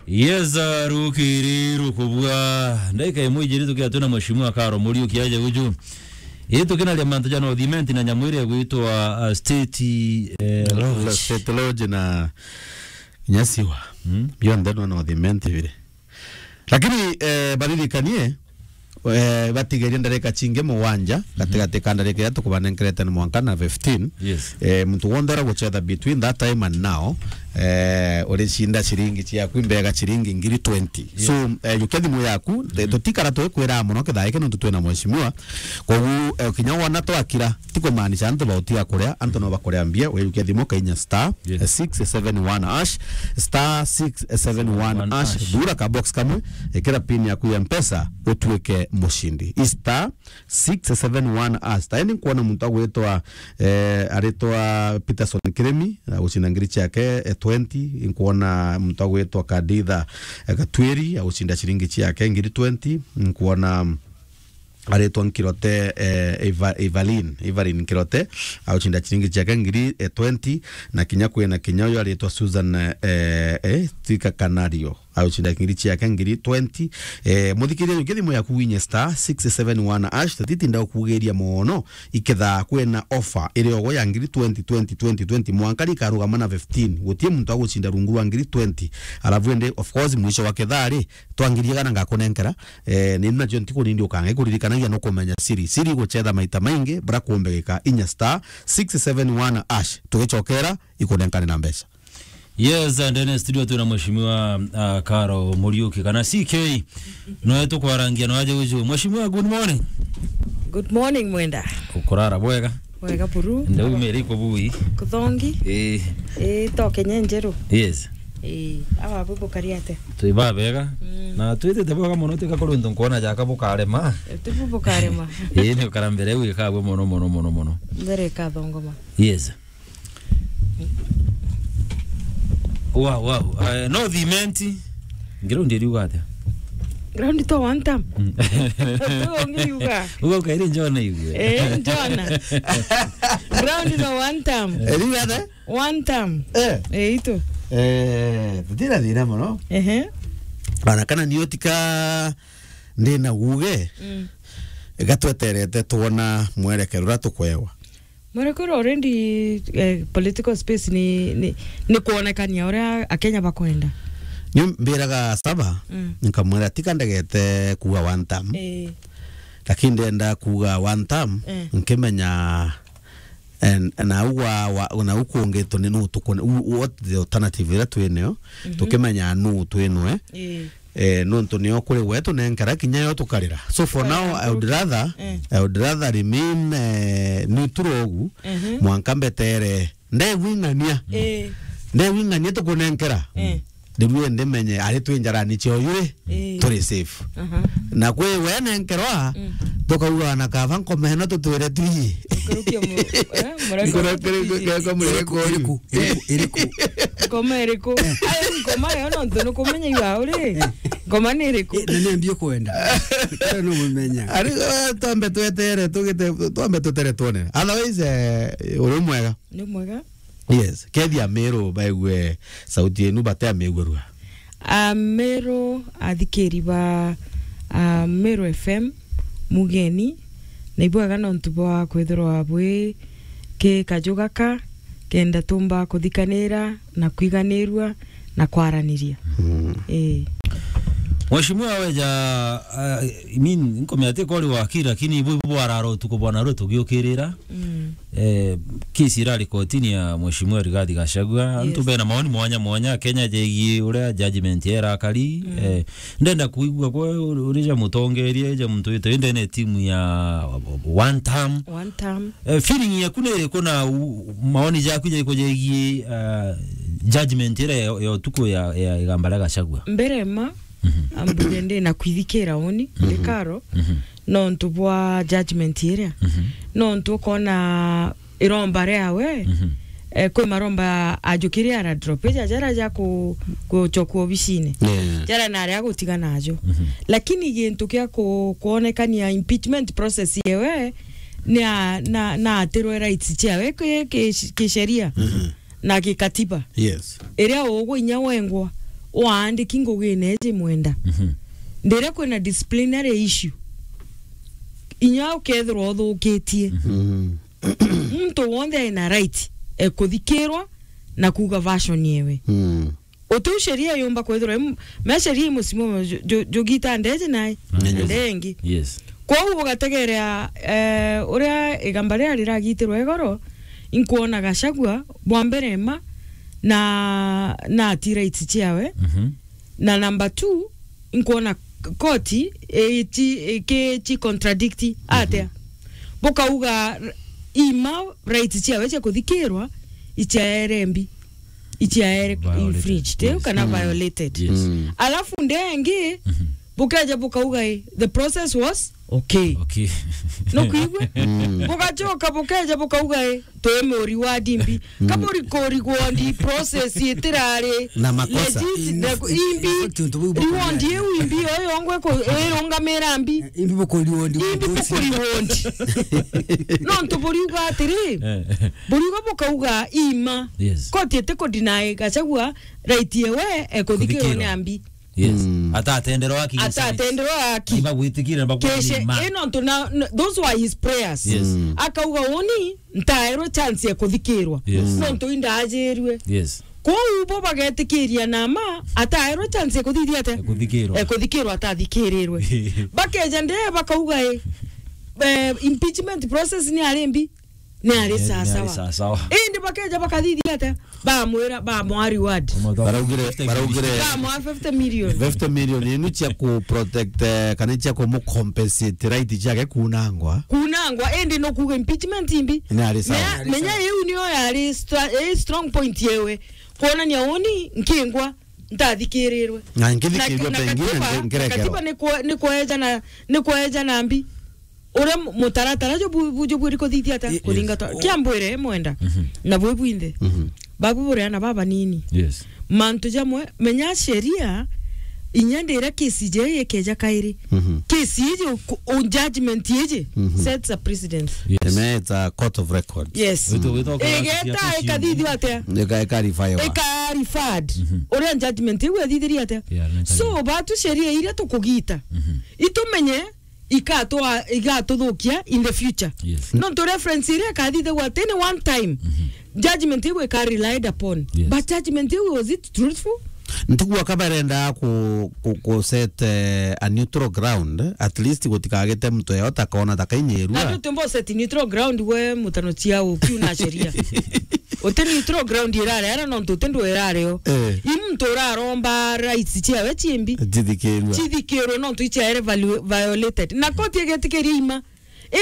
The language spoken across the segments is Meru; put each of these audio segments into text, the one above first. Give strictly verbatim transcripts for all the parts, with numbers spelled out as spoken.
Yes, uh, rukiri rukubua. Ndaika imwe ijiri tukia twina Mheshimiwa Karo Muriuki aje guju. Ii tukinaria mantu ja North Imenti na nyamu iria igwitwa, uh, State, eh, Lodge. State Lodge na Nyasiwa. Mm. Bionthe no North Imenti biri. Lakini, eh, baririkanie, eh, batigerie ndarika cingi mugwanja, gatigati ka ndarika iria tukubanenkerete ni mwanka na fifteen. Yes. Eh, muntu wonthe ura gucetha between that time and now, eh, uricinda ciringi ciaku imbega ciringi ngiri twenty. Yes. So, eh, jukia thimu yaku, tutikara tugikwira mono kithaa giki nontu twina mheshimiwa. Koguo, eh, kinya wona twakira, ti kumaanisha antu bautiga kuria, antu no bakuria mbia, wejukia thimu kainya star, yes, eh, six seven one hash, star six seven one hash, thura ka box kamwe, ikira pin yaku ya Mpesa, utuike mucindi. I star six seven one hash. Tayari nkuona muntu agwitwa, eh, aritwa Peterson Kirimi, agucinda ngiri ciake, eh, twenty. Nkuona muntu agwitwa Kaditha, eh, Gatwiri, agucinda ciringi ciake ngiri twenty. Nkuona aritwa Nkirote, eh, Eva-, Evelyn, Evelyn Nkirote, agucinda ciringi ciake ngiri, eh, twenty, na kinya kwina kinya uyu aritwa Susan, eh, eh, Tika Kanario, agucinda ngiri ciake ngiri twenty. Eh, muthikiria, jukia thimu yaku winye star six seven one hash, tatitinda ukugeria mono, ikethaa kwina offer iri ogo ya ngiri twenty, twenty, twenty, twenty, mwanka rikarugama na fifteen, gutie muntu agucinda rungu rwa ngiri twenty, alafu indi, of course, mwisho wa kethaa ri, twangirie kana ngakunenkera, eh, ni nacio ntiku nindi ukanga ikuririkanagia no kumenya siri. Siri gucetha maita maingi, bra kumbegika inya star six seven one hash. Tugicokera, ikunenkane na mbeca. Yes, and then studio twina mheshimiwa, uh, Karo Muriuki, kana C K. Noe tukwarangia no aje uju. Mheshimiwa, good morning. Good morning, Mwenda. Ukurara bwega? Wega buru. Ndau meri kubui. Kuthongi. Eh. Eh, to Kenya njeru. Yes. Eh, awa bubu kariate. Twi babega. Mm. Na twitite bwega mono, tika kuri untu nkuona jaka bukarema. Eh, ti bubu karema. Eh, ni ukara mbere wikagwe mono, mono, mono, mono. Mbere kathongoma. Yes. Wow, wow. Eh, North Imenti. Ground iriuga atia? Ground to one term. Mm. To ngiriuga. Uga ukairi njona igue. Eh, njona. Ground no one term. Iriuga atia? One term. Eh. Eh, itu. Eh, tutira thina mono. Ehe. Bana, kana ni utika ndina uge. Mm. Gatweterete twona mwerekero uria tukwewa. Mwerekero already, eh, political space ni, ni, ni kuonekania uria Akenya bakwenda. Ni mbiraga Saba, mm, nkamwira, tika ndegete kuuga one term. Eh. Lakini ndenda kuuga one term, eh, nkimenya, eh, na ugwa, wa, na ukungitwo ni nu tukune, u-, what the alternative ira twinayo, mhm, tukimenya nu twinwe. Eh. Eh, nontu nio kuri gwe tunenkera kinya yo tukarira. So for now, I would rather, eh, I would rather remain, eh, neutral ugu, mhm, mwanka mbetere. Ndegwing'ania. Eh. Ndegwing'ania tukunenkera. Eh. Ndirue ndimenye ari twi njarani cio yuri, eh, turi safe. Aha. Na kwi we nenkerwa, mm, tukauga na kaba nkoma ino tutwire twi. Nkurukia mu-, eh, mureka. Nkurukia, nkurukia, nkurukia, nkurukia. Iriku, iriku, iriku. Ngoma iriku? Ai, ngoma yo nontu nukumenya iwa uri. Eh. Ngoma ni iriku? Eh, na ni ambie kwenda. Kare no mumenya. Ari, eh, twambe twetere, tugite, twambe tutere twone. Otherwise, eh, uri mwega. Ni mwega. Yes. Kethi Ameru baigue sauti yenu bate amigurua. Ameru athikiri ba, ah, Meru F M, mugeni, na ibwega nontu bwa kwithirwa bwi ki kaju gaka, kenda tumba kuthikanira na kwiganirua na kwaraniria. Mm. Ii. Mheshimiwa weja, ah, I mean, nkomea ati kori waki, lakini ibu bwarara utuku bwana rwe tugiukirira. Mm. Eh, kesi irari kotini ya Mheshimiwa Rigathi Gachagua. Yes. Antu bena maoni mwanya mwanya Kenya jegie uria judgment ya irakari. Mm. Eh, ndenda kuigua kwe uri ja mutongeria, ja muntu wite ndene timu ya one term. One term. Eh, feeling yaku ni iriku na u-, maoni jaku jaiko jegie, uh, judgment iria ya, ya utuku ya, ya igamba ria Gachagua? Mbere ma, mhm, ambuge ndi na kwithikira uni, mhm, ndi Karo, mhm, nontu bwa judgment iria. Mhm. Nontu ukona iromba riawe, mhm, eh, kwi maromba ajukiria ara drop, ija jara ja ku-, gucokua obicine. Yeah. Jara nari agutiga najo. Mhm. Lakini gintu kia ku-, kuonekania impeachment process yewe, ni a-, na, na atirwe rights ciawe ki-, ki-, kisheria, mhm, na gikatiba. Yes. Iria ugwe inya wengwa, waandiki ngugine iji mwenda. Mhm. Ndiria kwina disciplinary issue, inya ukethirwa uthukitie. Mhm. Mm. Muntu wonthe ena right e kuthikirwa na kuuga version yewe. Mm. Utiu sheria yumba kwithirwa im-, me sheria imusimo ju-, ju-, jugita ndeji nae, mm, yes, ndengi. Yes. Kwou ugategerea, eh, uria igamba riria riragitirwe igoro, inkwona Gachagua, bwa mbere ma, na, na ati rights ciawe. Mhm. Na number two, inkwona k-, koti iti, iki-, ci contradict atia. Mhm. Bukauga r-, ima rights ciawe cia kuthikirwa, ichiaere mbi, ichiaere violated, infringed, eh, yes, kana, mm, violated. Yes. Mm. Alafu ndengi, mhm, bukeja bukauga, eh, the process was okay. Okay. Nukwigua? Mm. Bugachoka bukeja bukauga, eh, twi mu reward mbi. Mm. Ka buri ku reward process itirari na makosa. Legit, na ku-, imbi. In fact, untu buu reward iu imbi yo yongwe ku-, irungamira mbi. Imbi buku reward. Imbi buku reward. Nontu buriuga atiri, eh, buriuga bukauga ima. Yes. Koti itiku deny Gachagua right yewe, eh, kuthikirwa ni ambi. Yes. Mm. Atatenderwa haki. Atatenderwa haki. Ni bagwitikire, ni bagwira ni ma. Keshe, eh, nontu na, n-, those were his prayers. Yes. Mm. Akauga uni, ntaerwe chance ya kuthikirwa. Yes. Nontu indajirwe. Yes. Kwou bo bagetikiria na ma, ataerwe chance ya kuthithia atia? Ya kuthikirwa. Ya kuthikirwa atathikirirwe. Bakeja nde bakauga, eh, eh, impeachment process ni ari mbi. Ni ari, eh, ni ari sawasawa. Sawasawa. Indi bakeja bakathithia atia? Bamwira, bamwa reward. Baraugire, baraugire bamwa fifty million. Fifty million inu cia ku protect, eh, kana cia ku mu compensate right ciake kunangwa. Kunangwa, indi no kuga impeachment imbi. Ni ari sawa. Menya, menya iu niyo yari stra-, eh, strong point yewe. Kuonania uni nkingwa, ntathikirirwe. Na nkithikirirwe na, na pengine katiba, nge-, na ngerekerwa. Katiba ni kwe-, ni kweja na, ni kweja na mbi. Uria mu-, mutaratara ju bu-, bu-, ju bwiri kuthithia atia? I-, yes. Kuthingata. O- Kia mbwire mwenda. Mhm. Na bwi bwinthe. Mhm. Babu buria na baba nini. Yes. Mantu jamwe, menya sheria, inya ndira kesi je ikeja kairi. Mhm. Kesi iji ku-, u-, judgment iji, mhm, sets a precedent. Yes. Eme it's a court of record. Yes. Wito, wito, igeta ikathithio atia? Ika-, ika refer-wa. Ika referred. Mhm. Uria judgment iu ethithirie atia? Yeah, so, batu sheria iria tukugita. Mhm. Itumenye ikatwa-, igatuthukia in the future. Yes. Nontu reference iria ikathithagwa tene one time, mhm, judgment iu ika relied upon. Yes. But judgment iu, was it truthful? Ntigua ka barenda ku, ku, ku set, eh, a neutral ground, at least gutikagite muntu yao takona takainyirua. Na ndu tumbo set neutral ground we mutano ciao kiu na sheria. Uti neutral ground irare ara nontu uti ndu irare o. Eh. I muntu uraromba rights ciawe ciimbi. Cithikirwe. Cithikirwe nontu ichiaere valu-, violated. Na koti igetikiria ima.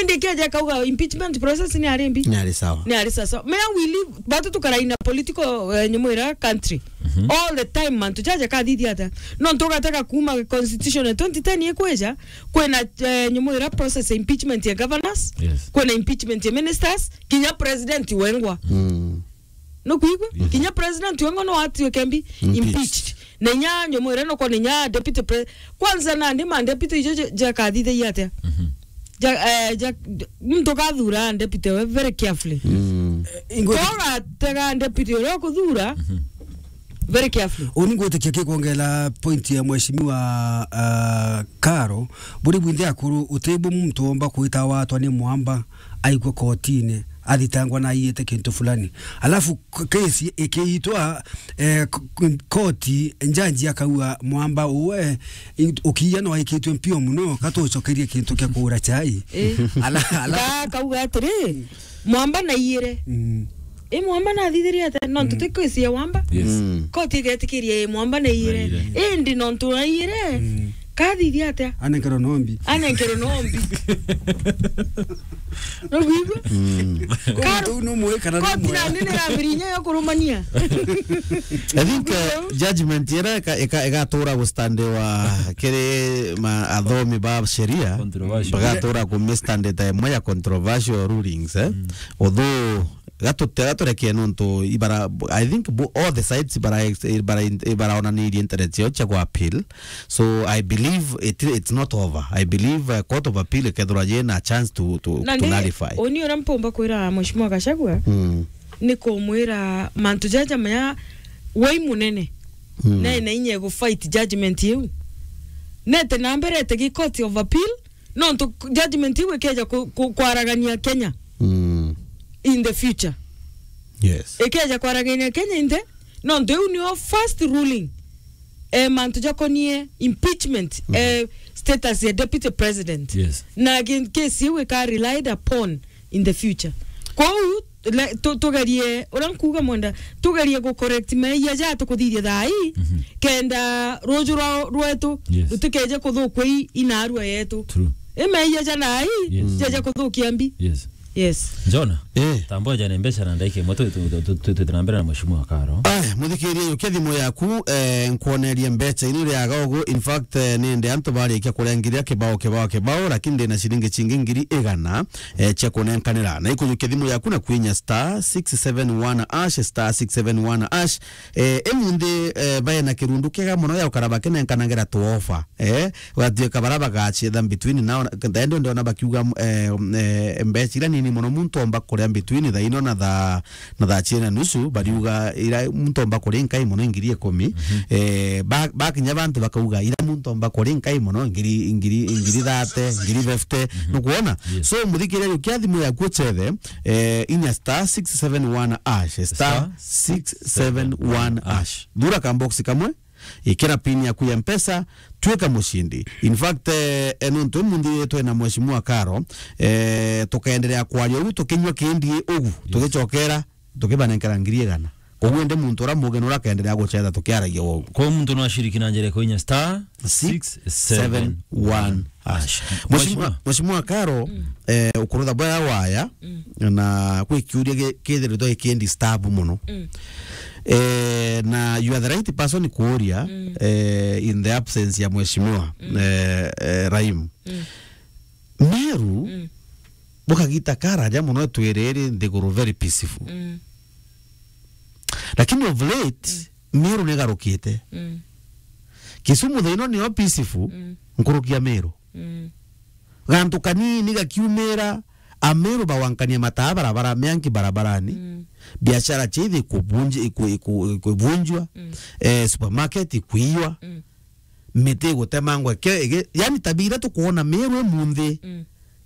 Indi ikeja ikauga impeachment process ni ari mbi. Ni ari sawa. Ni ari sawa. Mea we live, batu tukara in a political, eh, nyumu ira country. Mhm. All the time, mantu jaja kathithia atia? Nontu ugatega kuma constitution ya twenty ten ikwija, kwina, eh, nyumu ira process ya impeachment ya governors, yes, kwina impeachment ya ministers, kinya president wengwa. Mm. Nukwigua? Mhm. Kinya president wengwa no atuike mbi impeached. Impeached. Na inya nyumu ira no kwona inya deputy pre-, kwanza nandi ma deputy ijo ja, jakathithagia atia? Mhm. Ja, eh, ja, muntu kathura deputy we very carefully. Mm. Eh, ingwe- Kogatega deputy uria ukuthura, mhm, very carefully. Uni ngwitikia kikwongela point ya mheshimiwa, ah, Karo, buri bwinthe akuru, uti bu muntu omba kwita watwa ni mwamba, aikwe kotini, athitangwa na aiyite kintu fulani. Alafu k-, kesi ikiitwa, eh, k-, k-, koti, njanji akaua mwamba uwe, in-, ukiia no aikitwe mpio muno, katucokerie kintu kia kuura chai. Eh. Ala-, ala- Ga-, kauga atiri, mwamba naiyire. Mm. I mwamba nathithirie atia? Nontu, mm, ti kesi ya wamba. Yes. Mm. Koti igetikiria i mwamba naiyire. Naiyire. Indi nontu naiyire, mm, kathithia atia? Anenkerwe nombi. Anenkerwe nombi. Nukwigua? Mm. Koti nandi niramirinya yo kurumania. I think, uh, judgment ira ika-, ika-, igatura gustandiwa kiri ma-, athomi ba sheria. Controversial. Bagatura kumistandita imwe ya controversial rulings, eh? Mm. Although Gatu-, gaturekie nontu ibara, I think bo-, all the sides ibara, ibara, ibaraonanirie interest yao cia ku appeal. So I believe it, it's not over. I believe, uh, Court of Appeal ikethirwa yina chance to, to, na to ni nullify. Uni uria mpumba kwira Mheshimiwa Gachagua, mm, ni kumwira mantu jaja maya wai munene. Mm. Na ena inya ya gu fight judgment iu. Nete na mbere ete gi Court of Appeal, nontu judgment iu ikeja ku-, ku-, kwaragania Kenya Mm. in the future. Yes. Ikeja kwaragania Kenya in the, nontu iu nio first ruling, eh, mantu jakonie impeachment, eh, status ya deputy president. Yes. Na ki-, case iu ika relied upon in the future. Kwou, le-, tu-, tugerie, uria nkuuga mwenda, tugerie gu correct meeyia ja tukuthithia thaa ii, Mhm. kenda ruju rwa-, rwetu Yes. rutikeje kuthukua i-, inaarua yetu. True. I meeyia ja thaa ii, Yes. jeje kuthukia mbi. Yes. Yes. Jona, Eh. tambo ja ni mbeca na ndaika imwe, tu-, tu-, tu-, tu-, tu-, tu-, na mbere na Mheshimiwa Karo. Aya, muthikiria, yukia thimu yaku, eh, nkwonerie mbeca inu riaga ugu. In fact, eh, nende antu barikia kurengiria kibao, kibao, kibao, lakini ndina ciringi cingi ngiri igana, eh, cia kunenkanira. Na ikujukia thimu yaku na kwinya star six seven one hash, star six seven one hash. Eh, emunthi, eh, bae na kirundu kiega mono ya ukara bakinenkanagira tuofa. Eh, gwatuika bara bagacetha between now, na, ndende ndiona bakiuga, eh, eh, mbeca ira nini mono muntu omba kuria between thaa ino na thaa na thaa ciiri na nusu, bariuga ira muntu omba kuri nkai mono ngiri ikumi. Mhm. Eh, ba-, bakinya bantu bakauga, ira muntu omba kuri nkai mono ngiri, ngiri, ngiri thirty, ngiri fifty. Mhm. Nukwona? Yes. So, muthikiria, yukia thimu yaku uchethe, eh, inya star six seven one hash, star six seven one hash. Thura ka box kamwe, ikira pin yaku ya Mpesa, twika mucindi. In fact, eh, eh, nontu munthi twina Mheshimiwa Karo, eh, tukaendelea kwaria ugu, tukinywa kindi ugu, Yes. tugicokera, tukibanenkera ngiri igana. Koguo indi muntu uria mugi nura akaendelea gucetha tukiaragia ugu. Kwa muntu no ashiriki na njira ya kuinya star six seven one hash. Mheshimiwa, Mheshimiwa. Mheshimiwa Karo, Mm. eh, ukurutha bwega waya, Mm. na gwi kiuria gi-, kithiritwe gikindisturb muno. Mm. Eh, na you are the right person kuuria, Mm. eh, in the absence ya Mheshimiwa, Mm. eh, eh, Rahim. Mm. Meru, Mm. bukagita karaja muno twiriri nthiguru very peaceful. Mm. Lakini of late, Mm. Meru nigarukite. Mm. Kisumu thaino niyo peaceful, Mm. nkuruki ya Meru. Mm. Gantu kanini gakiumira, Ameru bawankania mataa barabara, mianki barabarani, Mm. biashara chithi ikubunji-, iku-, iku-, ikubunjwa, Mm. eh, supermarket ikwiwa, Mm. miti igutemangwa, ke-, ige-, yani tabia iria tukwona Meru imunthi, Mm.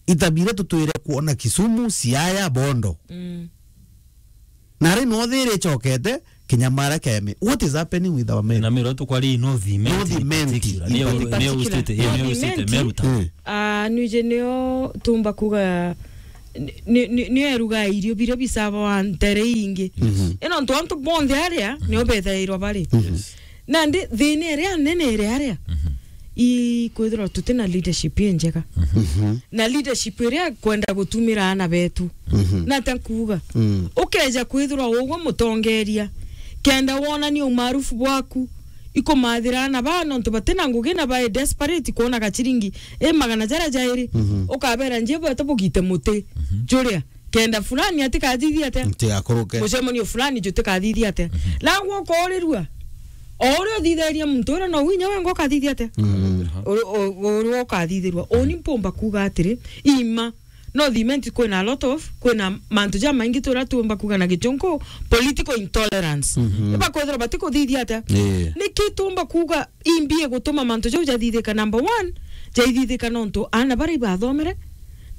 itabia iria tutwire kwona Kisumu, Siaya, Bondo. Mm. Na ri no thiri icokete, kinya Mara Keme. What is happening with our men? Na Meru tukwari North Imenti North in Imenti particular. In Neo, particular. neo state, eh, North neo state Imenti. Meru town. Mm. Ah, nwije nio tumba kuga ni, ni, ni, nio eruga irio biria bisaba wa ntere ingi. Mhm. Ino ntu antu bonthe aria, nio bethairwa bari. Mhm. Yes. Nandi thina iria nene iri aria, Mhm. i kwithirwa tuti na leadership injega. Mhm. Na leadership iria kwenda gutumira ana betu. Mhm. Na ta nkuuga, Mm. ukeja kwithirwa ugwe mutongeria, kenda wonania umaarufu bwaku, ikumathira ana baa nontu batina ngugi na bae desperate kwona gachiringi i magana jaria jairi, Mhm. ukabera njie bwete bugite muti, Mhm. juria, kenda fulani atikathithia atia? Ntigakuruke. Mucemanio fulani jutikathithi atia? Mhm. Nagwo ukoorirua, o uria uthithiria muntu uria, no winya wenga ukathithi atia? Mhm. Uri-, u-, uria ukathithirwa. Uni mpumba kuuga atiri, ima, no thimenti kwina a lot of, kwina mantu jamaingi turia tuumba kuuga na gichunku, political intolerance. Mhm. Ibakwithirwa batikuthithia atia? Ii. Niki tuumba kuuga imbi igutuma mantu jau jathithika? Number one, jaithithika nontu aana baria ibathomere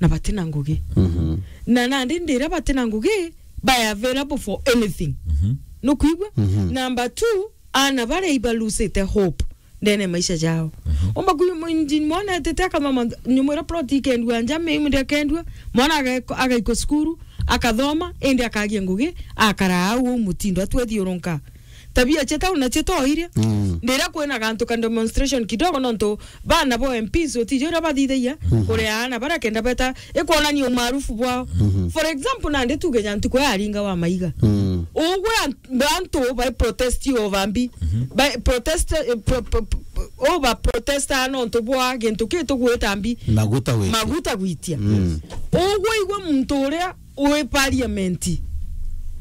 na batina ngugi. Mhm. Na nandi ndiria batina ngugi, bae available for anything. Mhm. Nukwigua? Mhm. Number two, aana baria ibalusite hope ndene ya maisha jao. Mhm. Umba kuyu mwinji mwana etete akathoma nyumu iria plot ikendua nja, miu ndi akendua, mwana agaiko-, agaikwa cukuru, akathoma, indi akagia ngugi, akara au uu mutindo, atwethiurunka. Tabia cia town nacio to iria. Mm. Ndiria kwina gantu ka demonstration kidogo, nontu bana bo M Ps utiji uria bathithagia, Mhm. kuria aana baria kenda beta, ikwonania umaarufu bwao. Mhm. For example, nandi tuge ja ntuku ya Aringa wa Maiga. Mm. Ugwe an-, bantu bai protest over mbi. Mhm. Bai protest, eh, pro-, pro-, pro-, over protest nontu bwa gintu ki tugwita mbi. Maguta gwitia. Maguta gwitia. Mm. Ugwe igwe muntu uria wi parliament,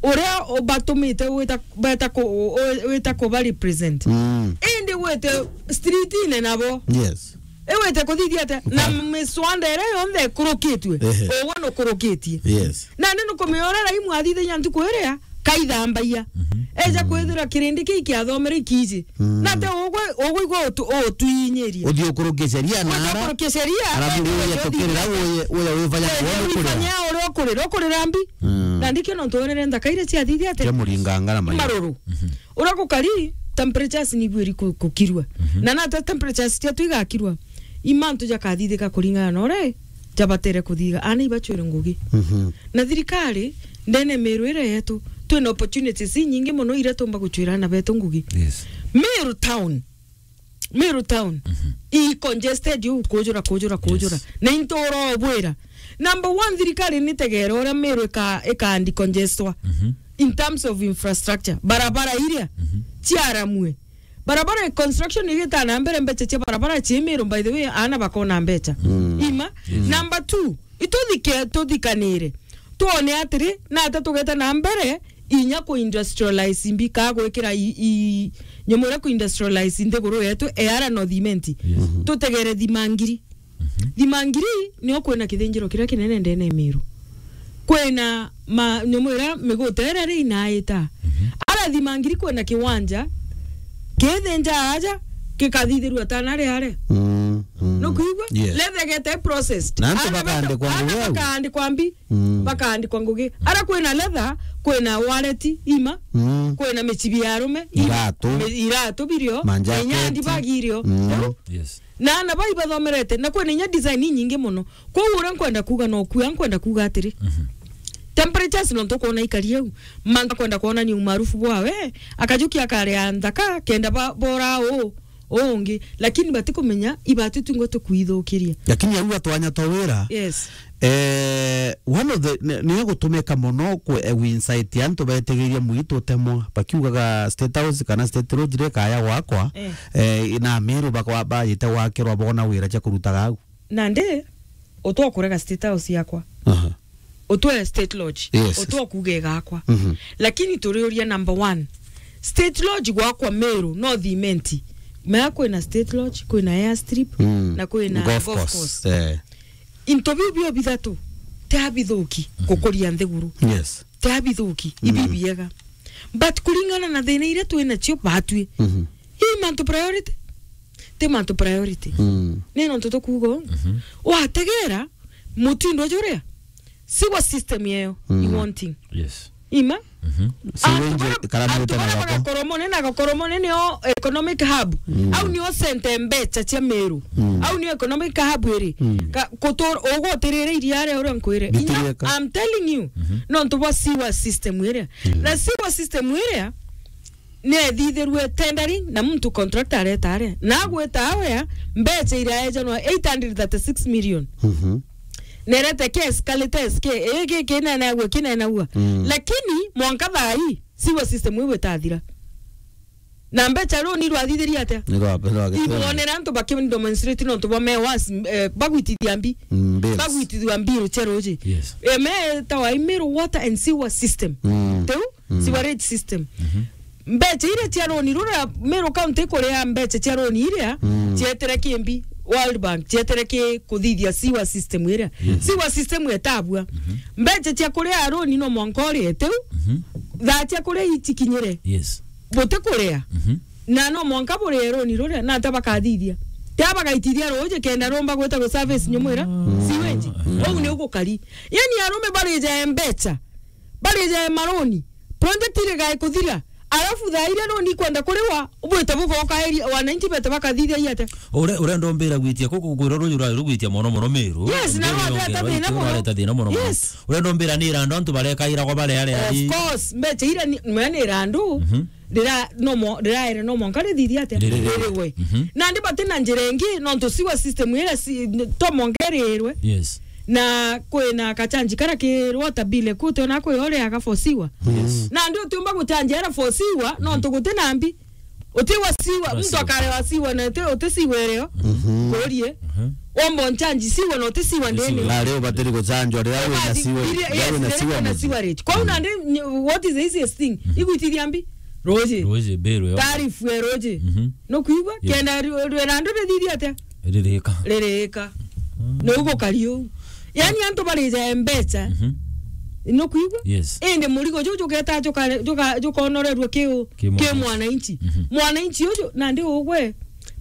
uria ubatumite wita, beta ku-, u-, wita kuba represent. Mm. Indi wite streetine nabo. Yes. Iwite kuthithia atia? Na Nka- miswanda iria yonthe ikurukitue, Ehe. ugwe nukurukitie. Yes. Nandi nukumenya uria Raimu athithagia ntuku iria kaithambagia. Mhm. Eja kwithira kirindi kii kiathomere ikiji. Mm. Na te ugwe, ugwe igwe utu-, utwinyirie. Uthi ukuruke sheria na ara. Uthi ukuruke sheria, arabu na uye uthi tukirira uye, uye wifanya uye kuona kurira. Wifanya uria ukurira, ukurira mbi. Mm. Na ndikio nontu wonere nthaka iria ciathithia ati. Kia muringanga na mayo. Maruru. Mhm. Uria gukari, temperatures ni ibwiri ku-, kukirua. Mhm. Na nata temperatures cia tu igakirua. Imantu jakathithika kuringana na uria jabatere kuthiga. Ana ibachwire ngugi. Mhm. Na thirikari, ndene Meru ira yetu, twina opportunities inyingi mono iria tumba guchwira ana betu ngugi. Yes. Meru town. Meru town. Mhm. I congested yu kujura, kujura, kujura. Yes. Na into urobwira. Number one, thirikari ni tegere uria Meru ika, ika decongestwa. Mhm. In terms of infrastructure. Barabara iria. Mhm. Ciaramue. Barabara construction igita na mbere, mbecha cia barabara ci Meru, by the way, ana bakona mbecha. Mm. Ima. Yes. Number two, ituthike, tuthikanire. Tuone atiri, nata tugeta na mbere, inya ku industrialize mbi, ka gwikira i, i, nyamu iria ku industrialize nthiguru yetu, e ara no cement. Yes. Mhm. Tutegere thimangiri. Mhm. Thimangiri, nio kwina kithinjiro kiria kinene ndene Meru. Kwina ma, nyamu iria miguta iria ri inaita. Mhm. Ara thimangiri kwina kiwanja, kithinja aja, gikathithirua tana ri are. Mm, mm. Nukwigua? Yes. Leather igeta processed. Na antu ana baka-, bakaandikwa ana ngugi au. Bakaandikwa mbi. Mm. Bakaandikwa ngugi. Ara kwina leather, kwina wallet, ima, mm, kwina michibi ya arume, ima, iratu, mi-, iratu birio, manjaketi, na inya handbag irio. Mm. Riu, yes. Na ana bai bathomerete, na kwina inya design inyingi mono. Kwou uria nkwenda kuuga no kuuga, nkwenda kuuga atiri. Mhm. Temperatures nontu kwona ikari au. Manga kwenda kwonania umaarufu bwawe, akajukia akaria nthaka, kenda ba-, bora uu, uu ungi. Lakini batikumenya, ibatu tu ngo tukwithukiria. Lakini au atwanya twa wira, yes. Eh, one of the, ni, ni gutumika mono ku, eh, incite antu betigiririe mwitu utemwa, bakiugaga State House kana State Road ri kaya gwakwa, eh, eh, na Meru bakwa, bajite gwakirwa bona wira cia kurutaga au. Nandi, utwa kurega State House yakwa. Aha. Utwe State Lodge. Yes. Utwa kuuga igakwa. Mhm. Lakini turiuria number one. State Lodge gwakwa Meru, no cement. Mea kwina State Lodge, kwina airstrip, mm, na kwina golf course. Golf course. Eh. Into biu bio bithatu, ti abithuki, mhm, gukuria nthiguru. Yes. Ti abithuki, mm, ibi biega. But kuringana na thina iria twina cio batwi, mhm, i mantu priority? Ti mantu priority. Mm. Ni nontu tukuuga uu. Mhm. Wategera mutindo juria, sewer system yeyo, mm, i wanting. Yes. Ima? Mhm. Antu sewage bara, kara antu meta bara na gako. Bagakoromone na Gakoromone nio economic hub. Mm. Au nio center mbecha cia Meru. Mm. Au nio economic hub iri. Mm. Ka-, kutur-, ugutirire iria ria uria nkwire. Inya, bitireka. I'm telling you, mhm, nontu bwa sewer system iria. Mm. Na sewer system iria, niethithirue tendering na muntu contractor areta aria. Na agweta awea, mbecha iraejanwa eight hundred thirty-six million. Mhm. Nerete ke escalator ke, ii ki-, kinenagua, kinenagua. Mm. Lakini mwanka thaa ii, sewer system iu itathira. Na mbecha ruu ni rwathithirie atia? Ni rwa, ni rwa gitene. Ibonera antu bakidemonstrate nontu bwa me once, eh, bagwitithia mbi. Mm, bills. Bagwitithua mbiru cia ruuji. Yes. Eh, me tawa Meru water and sewer system. Mm. Teu? Mm. Sewerage system. Mhm. Mbecha iria cia roni ruria Meru County ikuria mbecha cia roni iria, mm, cietire ki mbi, World Bank, cietire ki kuthithia sewer system iria. Yes. Sewer system etabua. Mhm. Mbecha cia kuria roni no mwanka urie teu, mhm, thaa cia kuria itikinyire. Yes. Buti kuria. Mhm. Na no mwanka burie roni ruria, na ata bakathithia? Tia bagaitithia ruuji kenda rumba gwita guservice nyumu iria, mm, sewage. Mm. Uu ni ugukari. Yani arume barija mbecha. Barija maroni. Project irigae kuthira. Alafu thaa iria roni ikwenda kuriwa, ubwite bugoka area, wananchi bete bakathithia iate. Ure-, urenda umbira gwitia kuku kwira ruuji rwari rugwitia mono mono Meru. Yes, na rwateta thina mono. Rwateta thina mono mono. Yes. Urenda umbira ni irandu antu barekairagwa bare are ari. Of course, mbecha iria ni, mwe ni irandu. Mhm. Rira no mo-, riraere no mwanka rithithia atia? Ririgwe. Ririgwe. Mhm. Nandi bati na njira ingi, nontu sewer system iria si-, to mwanka irirwe. Yes. Na kwina kachanji kara ki water bill, kute ona kwi ore aga for sewer. Yes. Nandi utiumba guchanji ara for sewer, nontu guti na mbi. Uti wa sewer, muntu akarewa sewer na uti, uti sewer irio. Mhm. Kurie. Mhm. Womba unchanji sewer na uti sewer ndene. Na rio batiri guchanjwa riria wina sewer, riria wina sewer mucii. Kwou nandi, what is the easiest thing? Igwitithia mbi? Ruuji. Ruuji, bill yo. Tarifu ya ruuji. Mhm. Nukwigua? Yes. Kenda ru-, ru-, randu rithithia atia? Ririka. Ririka. Mm. Ni ugukari uu. Yani antu barija mbecha. Mhm. Nukwigua? Yes. Indi murigo juu jugeta jukare-, juka-, jukonorerua ki u-, ki ki mwananchi. Mwananchi. Mhm. Mwananchi uju, nandi ugwe,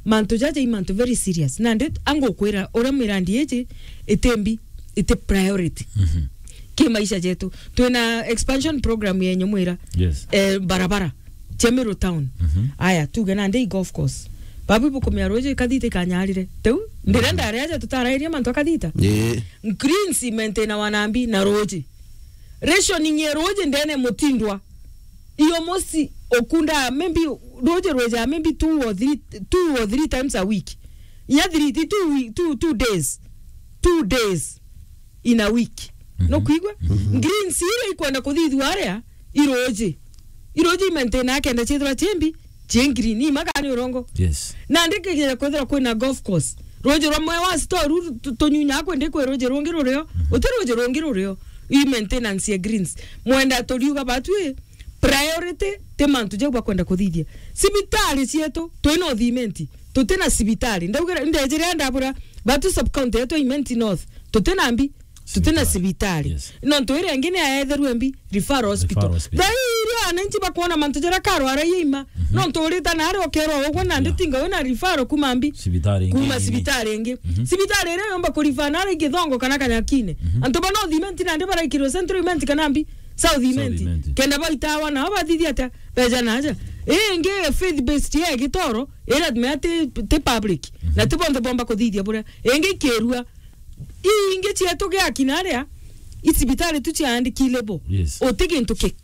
mantu jaja i mantu very serious. Nandi angukwira, uria mirandi iji, itimbi, iti priority. Mhm. Ki maisha jetu. Twina expansion program yenyu mwira. Yes. Eh, barabara. Cia Meru town. Mhm. Aya, tuge nandi i golf course. Babu ibukumia ruji kathita ikanyarire. Teu, ndirenda aria aja tutarairia mantu akathita. Ii. Greens imaintainawa nambi na ruji. Rationing ya ruji ndene mutindwa. Iyo mosi okunda maybe ruji rweja maybe two or three, two or three times a week. Inya three, ti two week, two, two days. Two days in a week. Mhm. Nukwigua? Mhm. Greens iria ikwenda kuthithua aria, iruji. Iruji imaintaina kenda ciithirwa ciimbi, cii green, ima kana ni urongo. Yes. Nandi kigeja kwithirwa kwina golf course. Ruji rumwe wa store ru tu-, tunyunya kwendi kwi ruji rungi rurio, mhm, uti ruji rungi rurio. I maintenance ya greens. Mwenda turiuga batwi, priority ti mantu jau bakwenda kuthithia. Cibitari cietu, twina uthimenti. Tutina cibitari. Ndaugira, ndejire ndabura, batu sub county yetu Imenti North. Tutina mbi. Tutina cibitari. Cibitari. Yes. Nontu iria ingi ni aetherue mbi, referral hospital. Referral hospital. Thaa ii iria wananchi bakwona mantu jaria karwara iima. Mhm. Nontu urita nari ukerwa ugwe nandi, yeah, tinga wina referral kuma mbi. Cibitari ingi. Kuma nini? Cibitari ingi. Mhm. Cibitari iria yomba kurifa nari Githongo kana Kanyakine. Mhm. Antu bana uthimenti nandi baraikirwe Central Imenti kana mbi. South Imenti. South Imenti. Kenda baitawa nao bathithia atia? Beja naja. Ii ingi faith based ya Gitoro, iria mea ti, ti public. Mhm. Na ti bonthe bomba kuthithia buria. Ingi kirua. Ii ingi cietu giakina aria, i cibitari tu ciaandiki label. Yes. Uti gintu ki-,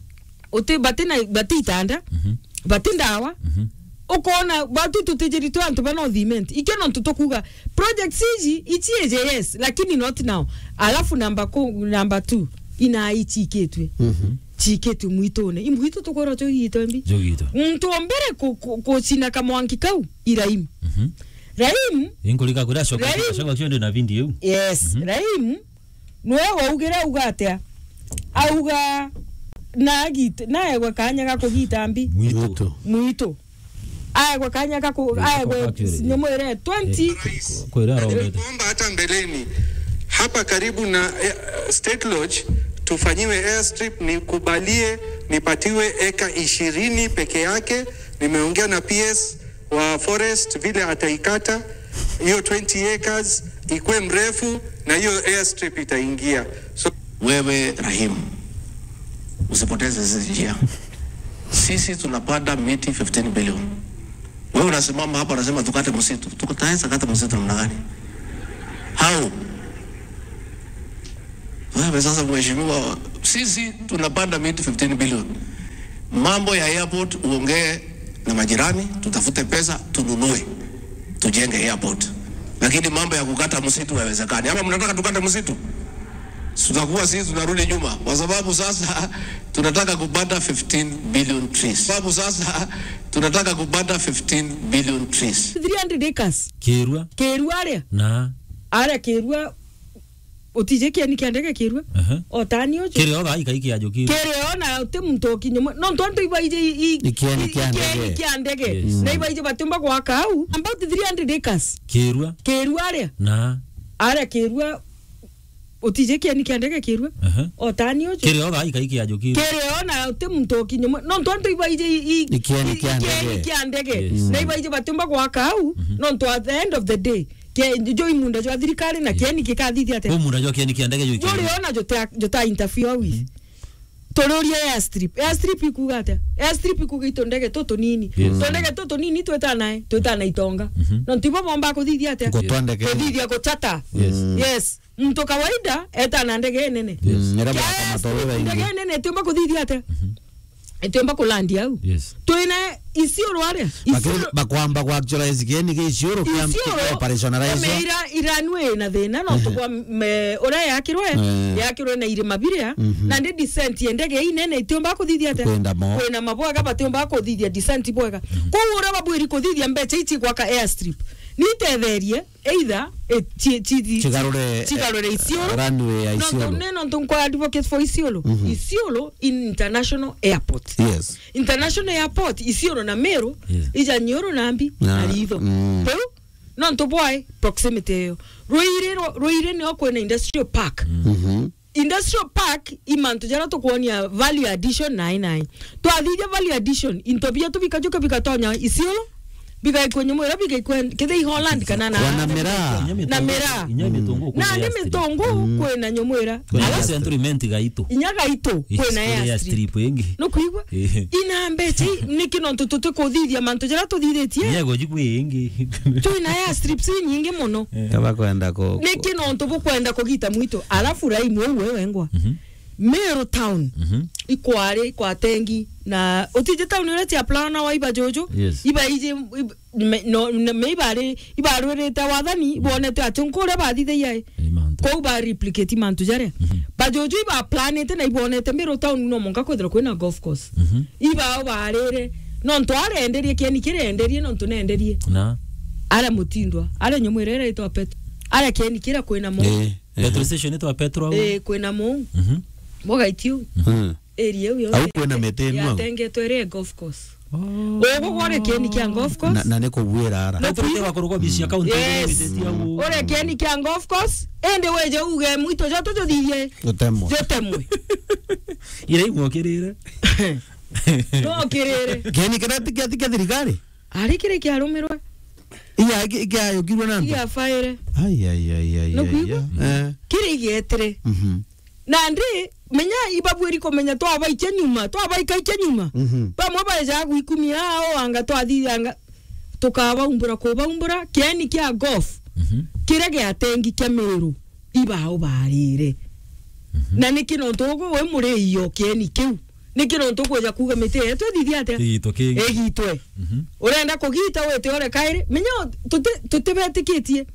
uti, bati na, bati itanda, mhm, bati ndawa. Mhm. Ukona, batu tutijiri tu antu bana uthimenti. Ikio nontu tukuga, projects iji, ici ije, yes, lakini not now. Alafu number ku-, number two, ina ichikitwe. Mhm. Chikitwe mwitune. Imwitu tukwirwa chugitwe mbi. Chugitwe. Muntu wa mbere ku-, ku-, kucina kamwanki kau, i Raim. Mhm. Raim. Inkulika kuria coka, Raim. Coka cio ndi na video iu. Yes, mhm, Raim. Nwe waugire auga atia? Auga na agit-, naegwe kanya ga kugita mbi. Mwitu. Mwitu. Mwitu. Aegwe kanya ga ku-, eh, aegwe, actually, nyumu iria twenty. Eh, ku-, ku-, kwira arombete. Nilikuomba hata mbeleni, hapa karibu na, eh, State Lodge, tufanyiwe airstrip, nikubalie, nipatiwe eka ishirini peke yake. Nimeongea na P S wa forest vile ataikata hiyo twenty acres, ikue mrefu na hiyo airstrip itaingia. So, wewe Rahim, usipoteze sisi njia. Sisi tunapanda miti fifteen billion. Wewe unasimama hapa unasema tukate msitu. Tutaweza kata msitu namna gani? How? Wewe sasa, mheshimiwa, sisi tunapanda miti fifteen billion. Mambo ya airport uongee na majirani, tutafute pesa, tununue, tujenge airport. Lakini mambo ya kukata msitu haiwezekani. Ama mnataka tukate msitu? Tutakuwa sisi tunarudi nyuma, kwa sababu sasa tunataka kupanda fifteen billion trees. Sababu sasa tunataka kupanda fifteen billion trees. Three hundred acres. Kirua. Kirua aria? Na. Aria Kirua, utije kieni kia ndege Kirua? Aha. Otani uju. Kiri o thaa ikai kia njuki. Kiri o na uti muntu ukinye mwe. Nontu antu ibaije i-, i-, ikieni i-, kia ikieni ndege, kia ndege. Yes. Na ibaije batumba gwaka au. About three hundred acres. Kirua. Kirua aria? Na. Aria Kirua, utije kieni kia ndege Kirua? Aha. Otani uju. Kiri o thaa ikai kia njuki. Kiri o na uti muntu ukinye mwe. Nontu antu ibaije i-, i-, ikieni i-, kia ikieni ndege, kia ndege. Yes. Na ibaije batumba gwaka au. Mhm. Nontu at the end of the day, ke-, jo i munda jwa thirikari na, yeah, kieni gikathithia atia? Ko munda jwa kieni kia ndege jo. Juri ona juta, juta interfere with. Mhm. Tururie airstrip. Airstrip ikuga atia? Airstrip ikuga itu ndege tutu nini. Yes. Tu ndege tutu nini twitanae, twitana itonga. Mhm. Nontu ibo bomba kuthithia atia? Gutwa ndege. Kuthithia guchata. Yes. Mm. Yes. Muntu kawaida etana ndege nene. Yes. Mm, ira baka matoro baingi. Ndege nene itiumba kuthithia atia? Mhm. Itiumba kulandi au. Yes. Twina Isiolo aria. Bakiri-, Isiolo bakwamba ku actualize kieni kia Isiolo kia Isiolo, operationalize. Ira, iranwe na thina, no, ehe, tukwa me, uria yakirwe, eh, yakirwe na irima biria, mhm, na ndi descent ya ndege inene itiumba kuthithia atia? Kwenda mo. Kwina mabwega batiumba kuthithia descent bwega. Mhm. Koguo uria babwiri kuthithia mbecha ici gwaka airstrip. Ni tetherie, either, eh, chi-, chi-, chi-, chigarure, chigarure, eh, Isiolo. Runway ya Isiolo. Nontu, ne nontu nkwa advocate for Isiolo. Mhm. Isiolo in international airport. Yes. International airport, Isiolo na Meru, yes, ija Nyoro na mbi, na, na Ritho. Mm. Teu, nontu bwae proximity iyo. Ruiri ro-, Ruiri nio kwina industrial park. Mhm. Industrial park i mantu jaria tukwonia value addition nai nai. Twathithia value addition, into bietu bikajuka bigatonya Isiolo, bigaikwa Nyamwira, bigaikwa kethira i Holland kana na Wana miraa. Inya na mitungu. Miraa. Inya mitungu Na kwina ni airstrip. Mitungu Mm. kwina Nyamwira. Kwina Ala- airstrip. Century Mint gaitu. Inya gaitu Yes, kwina kwina airstrip. Airstrip ingi. Nukwigua? Eh. Ina mbeca i, niki nontu tutikuthithia mantu jaria tuthithitie? Yego jikwi ingi. Twina airstrips inyingi muno. Eh. Kaba kwenda ku- Niki nontu bukwenda kugita mwitu? Alafu Raimu uu we wengwa. Mhm. Meru town. Mhm. Ikwari kwa Tengi na utiji town iria cia plana wa iba juju. Yes. Iba iji ib- me, no, na me ibari ibarwirite wathani ibonete ati nkuria bathithagia i. Ni mantu. Kou ba replicate mantu jaria. Mhm. Bajuju iba planete na ibonete Meru town no monka kwithira kwina golf course. Mhm. Ibao barire nontu arenderie kieni kirenderie nontu nenderie. Na. Aria mutindwa, aria Nyamwira iria itwa Petro. Aria kieni kiria kwina mo. Eh, eh. Petrol station itwa Petro au. Eh, kwina mo. Mhm. Mogaitio. Hmm. Area iu yonthe Au kwina miti ino au? Yatengetwe iri golf course. Oh. Ugu gwari kieni kia golf course. Na, na ni kugwira ara. Na Petro kwi- tewa kuruga bicia kaunti Yes. Iri au. Uri kieni kia golf course, indi wije uge mwitu joto jothithie. Jutemwe. Jutemwe. Ira imwokirire. No kirire. Kieni kiria ti kia, ti kia thirikari? Ari kiri kiarumirwe. Iya, ki-, kiayukirwe na antu? Iya, faire. Ai, ai, ai, ai, No ai, kuigua? Ai. Eh. Kiri igetire. Mhm. Nandi, menya ibabwiri kumenya twabaikia nyuma, twabaikaikia nyuma. Mhm. Bamwe baejaga gwikumia ao anga twathithanga, tukabaumbura kubaumbura, kieni kia golf, Mhm. kiria giatengi kia Meru, ibao barire. Mhm. Na niki nontu ugu wi muriio kieni kiu? Niki nontu ukwija kuuga miti yetu ithithie atia? Igitwe kingi. Igitwe. Mhm. Urenda kugita wite ore kairi? Menya tuti-, tutibetikitie.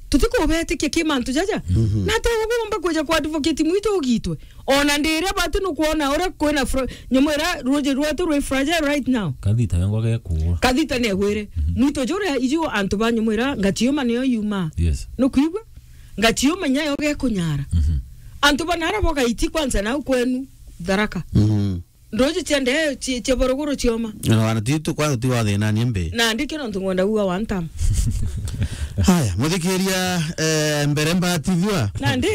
Tutikubetikia ki mantu jaja. Mhm. Na ata ugumba kwija ku advocate mwitu ugitwe. Ona ndiria bati nukwona uria kwina fra-, Nyamwira ruji rwetu rwi fragile right now. Kathita wengwa gekugwa. Kathita negwire. Mhm. Mwitu juria iju antu ba Nyamwira ngatiuma niyo yuma. Yes. Nukwigua? Ngatiuma nyayo gekunyara. Mhm. Antu banara bogaiti kwanza nau kwenu Tharaka. Mhm. Nduji cia ndee, ci-, cia borogoro cioma. Na wana ti tu kwa ti wathinanie mbi. Na ndiki nontu ngwenda kuuga one time. Haya, muthikiria, eh, mbere mbatithua. Na ndi,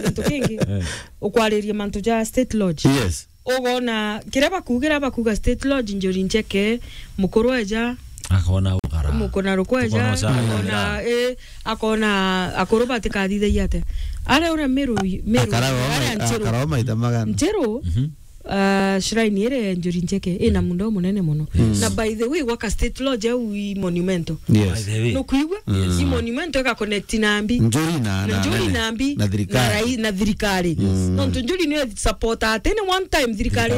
kintu kingi. Eh. Ukwariria mantu ja State Lodge. Yes. Ugona, kiria bakugira, bakuga State Lodge, Njuri Ncheke, mukuru eja. Akona ugara. Mukuna rukweja, Tukona uca- akona, eh, akona akuru batikathithagia atia. Aria uria Meru, Meru, Akara o aria mai-, Nchiru. Akara o maita magana. Nchiru, Mhm. Ah, shrine iri ya Njuri Ncheke ina mundo munene muno. Mm. Na by the way, gwaka State Lodge au i monumental. Yes. By the way. Nukwigua? Yes. I monumental ika connect na mbi. Njuri na, Na na, Njuri na, na mbi. Na thirikari. Na rai-, na thirikari. Yes. Nontu Njuri niyo support at any one time thirikari.